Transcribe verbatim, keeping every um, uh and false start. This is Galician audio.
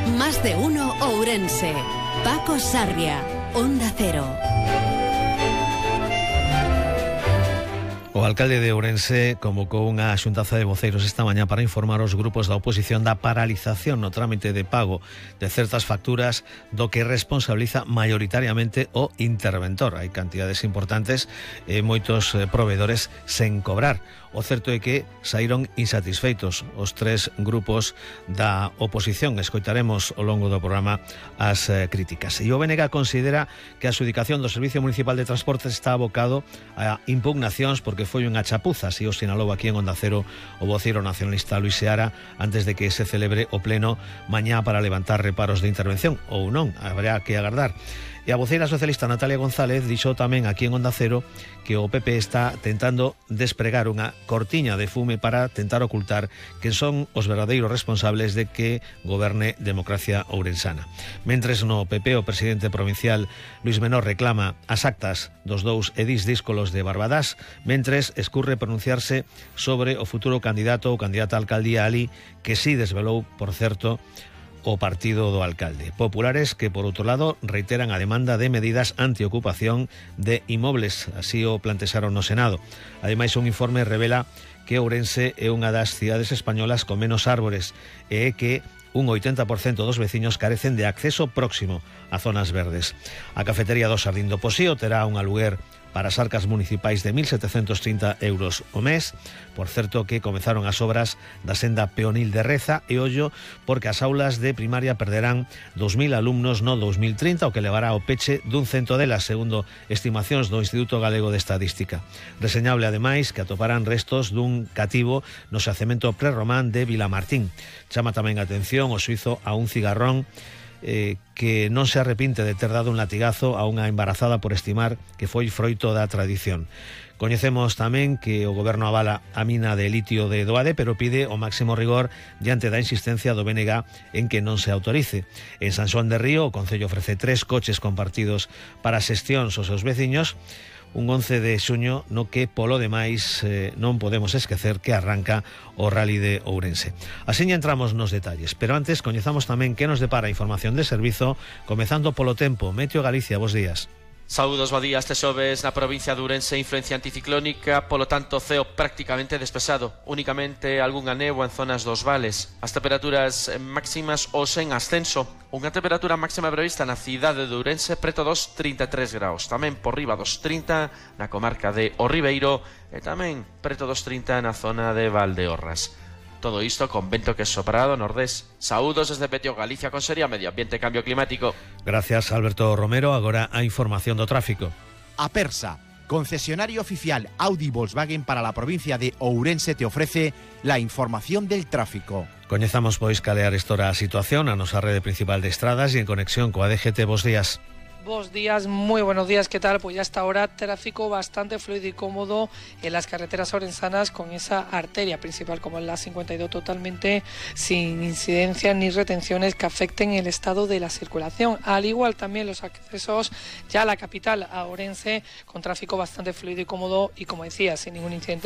Más de uno Ourense. Paco Sarria, Onda Cero. O alcalde de Ourense convocou unha xuntanza de voceiros esta mañá para informar aos grupos da oposición da paralización no trámite de pago de certas facturas do que responsabiliza maioritariamente o interventor. Hai cantidades importantes e moitos proveedores sen cobrar. O certo é que saíron insatisfeitos os tres grupos da oposición. Escoitaremos ao longo do programa as eh, críticas. E o B N G considera que a adxudicación do Servicio Municipal de Transportes está abocado a impugnacións porque foi unha chapuza, así o sinalou aquí en Onda Cero o voceiro nacionalista Luis Seara antes de que se celebre o pleno mañá para levantar reparos de intervención, ou non, habrá que agardar. E a voceira socialista Natalia González dixo tamén aquí en Onda Cero que o P P está tentando despregar unha cortiña de fume para tentar ocultar que son os verdadeiros responsables de que goberne democracia ourensana. Mentres no P P o presidente provincial Luis Menor reclama as actas dos dous edís díscolos de Barbadás, mentres escurre pronunciarse sobre o futuro candidato ou candidata a alcaldía alí, que sí desvelou, por certo, o partido do alcalde. Populares que, por outro lado, reiteran a demanda de medidas antiocupación de inmobles, así o plantexaron no Senado. Ademais, un informe revela que Ourense é unha das cidades españolas con menos árbores e é que un oitenta por cento dos veciños carecen de acceso próximo a zonas verdes. A cafetería do Xardín do Posío terá un aluguer para as arcas municipais de mil setecentos trinta euros o mes. Por certo que comenzaron as obras da senda peonil de Reza e ollo porque as aulas de primaria perderán dous mil alumnos no dous mil trinta, o que levará ao peche dun cento delas, segundo estimacións do Instituto Galego de Estadística. Reseñable ademais que atoparán restos dun cativo no xacemento prerromán de Vilamartín. Chama tamén a atención o suizo a un cigarrón Eh, que non se arrepinte de ter dado un latigazo a unha embarazada por estimar que foi froito da tradición. Coñecemos tamén que o goberno avala a mina de litio de Doade, pero pide o máximo rigor diante da insistencia do B N G en que non se autorice. En San Xoán de Río, o Concello ofrece tres coches compartidos para xestións aos seus veciños, un once de xuño no que, polo demais, eh, non podemos esquecer que arranca o Rally de Ourense. Así entramos nos detalles, pero antes coñezamos tamén que nos depara a información de servizo, comezando polo tempo. Meteo Galicia, bos días. Saúdos, bo día. Este xoves na provincia de Ourense influencia anticiclónica, polo tanto ceo prácticamente despexado, únicamente algunha néboa en zonas dos vales. As temperaturas máximas hoxe en ascenso, unha temperatura máxima prevista na cidade de Ourense preto dos trinta e tres graus, tamén por riba dos trinta na comarca de O Ribeiro e tamén preto dos trinta na zona de Valdeorras. Todo isto con vento que sopra do nordés. Saúdos desde Petio Galicia con Sería Medio Ambiente e Cambio Climático. Gracias, Alberto Romero. Agora a información do tráfico. Apersa, concesionario oficial Audi Volkswagen para la provincia de Ourense, te ofrece la información del tráfico. Coñezamos pois calear estora a situación a nosa rede principal de estradas e en conexión coa D G T. Bos días. Buenos días, muy buenos días, ¿qué tal? Pues ya hasta ahora tráfico bastante fluido y cómodo en las carreteras orensanas con esa arteria principal como es la cincuenta y dos totalmente sin incidencias ni retenciones que afecten el estado de la circulación. Al igual también los accesos ya a la capital, a Ourense, con tráfico bastante fluido y cómodo y como decía, sin ningún incidente